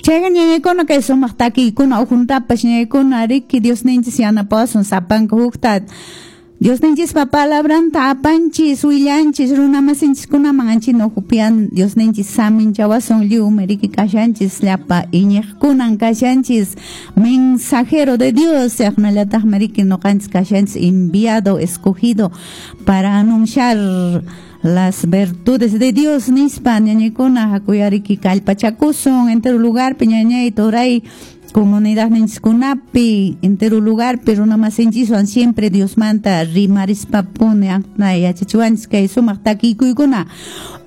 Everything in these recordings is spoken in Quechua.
Chayqa, ñañaykuna, kay sumaq takiykuna ukhuntapas, ñañaykuna, riki, Diosninchis yanapawasun sapanka hukta Diosninchispa palabranta apanchis, willanchis runamasinchiskunaman, anchina ukhupian Diosninchis saminchawasun. Lliwmi riki kashanchis, llapa iñiqkunan kashanchis mensajero de Dios, chaqnallataqmi riki ñuqanchis kashanchis enviado, escogido para anunciar las virtudes de Dios nispa. Ñañaykuna, hakuyariki kallpachakusun entero lugarpi, ñañay, turay, comunidad ninchiskunapi, entero lugarpi runamasinchiswan siempre Diosmanta rimarispapuni yachachiwanchis kay sumaq takikuykuna.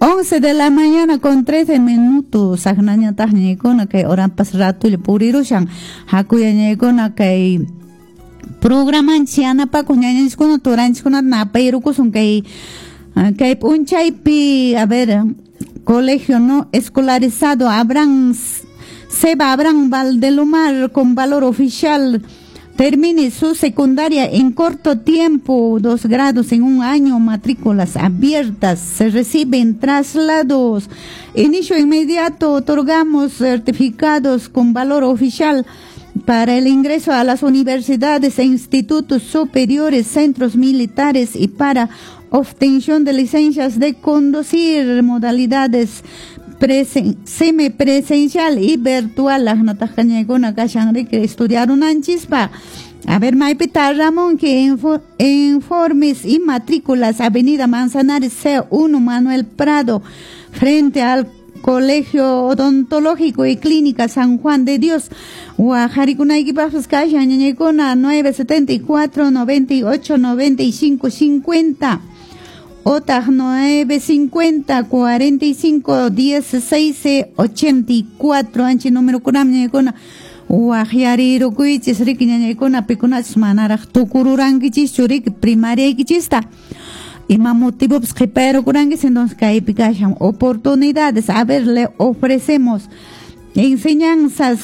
11 de la mañana con 13 minutos, saqnañataq, ñañaykuna, kay horapas ratulla purirushan. Hakuya, ñañaykuna, kay programanchis yanapakuq ñañanchiskuna, turanchiskunata napayrukusun kay p'unchaypi. A ver, colegio no escolarizado Abraham Seba Abraham Valdelomar, con valor oficial, termine su secundaria en corto tiempo, 2 grados en un año, matrículas abiertas, se reciben traslados, inicio inmediato, otorgamos certificados con valor oficial para el ingreso a las universidades e institutos superiores, centros militares y para obtención de licencias de conducir, modalidades semipresencial y virtual. Aqnataq kashan riki estudiarunanchispa. A ver, maypita Ramón, que informes y matrículas, Avenida Manzanares C1, Manuel Prado, frente al Colegio Odontológico y Clínica San Juan de Dios. Waqharikunaykipaqpas kashan, ñañaykuna, 974 98 95 50 otaq 950 45 16 84. Anchi número kunam, ñañaykuna, waqyarirukuychis riki, ñañaykuna, pikunachus manaraq tukururankichis riki primariaykichista, ima motivopis qhipayarukurankichis, entonces kaypi kashan oportunidades. A ver, le ofrecemos enseñanzas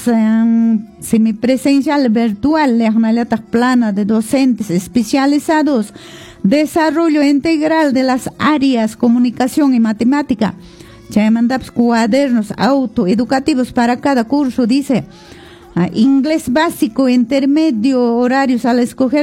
semipresencial, virtual, aqnallataq plana de docentes especializados, desarrollo integral de las áreas comunicación y matemática. Chaymantapas cuadernos autoeducativos para cada curso, dice. Inglés básico, intermedio, horarios al escoger.